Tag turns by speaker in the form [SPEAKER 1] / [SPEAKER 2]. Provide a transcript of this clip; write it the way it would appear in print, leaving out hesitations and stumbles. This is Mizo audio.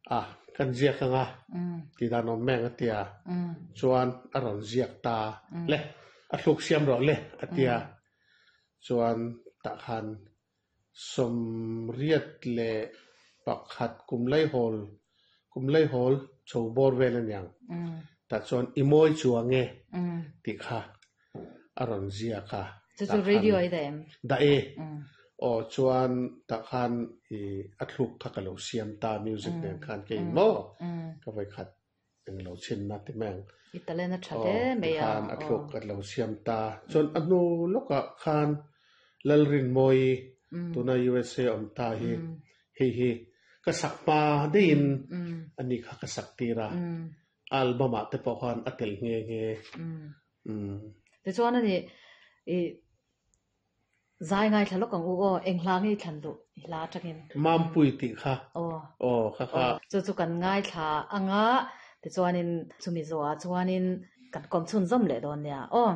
[SPEAKER 1] A, kan ziak anga tih dan awm meng a tia, chuan a rawn ziak ta le, a thluk siam rawh le a tia, chuan tah khan 81 kum laihawl, kum laihawl chho bawr vel a niang, tah chuan i mawi chuang e tih kha a rawn ziak a.
[SPEAKER 2] Chu chu radio i dah em?
[SPEAKER 1] Dah e. Aw chuan tah khan i a thluk kha ka lo siam ta music nen khan kei maw ka vawikhat eng lo chhinna ti mai ang.
[SPEAKER 2] I talent a tha hle mai a.
[SPEAKER 1] Aw tikhan a thluk ka lo siam ta. Chuan a hnu lawkah khan Lalrinmawii tuna USA awm ta hi hei hi ka sak hma deihin ani kha ka sak tir a. Album ah te pawh khan a tel nghe nghe.
[SPEAKER 2] Umm. Tichuan ani i zai ngaithla lawk ang u aw, eng hla nge i thlan duh i hla atangin?
[SPEAKER 1] Mampui tih kha.
[SPEAKER 2] Aw.
[SPEAKER 1] Aw kha kha.
[SPEAKER 2] Chu chu kan ngaithla anga tichuanin chumi zawhah chuanin kan kawm chhunzawm leh dawn nia aw.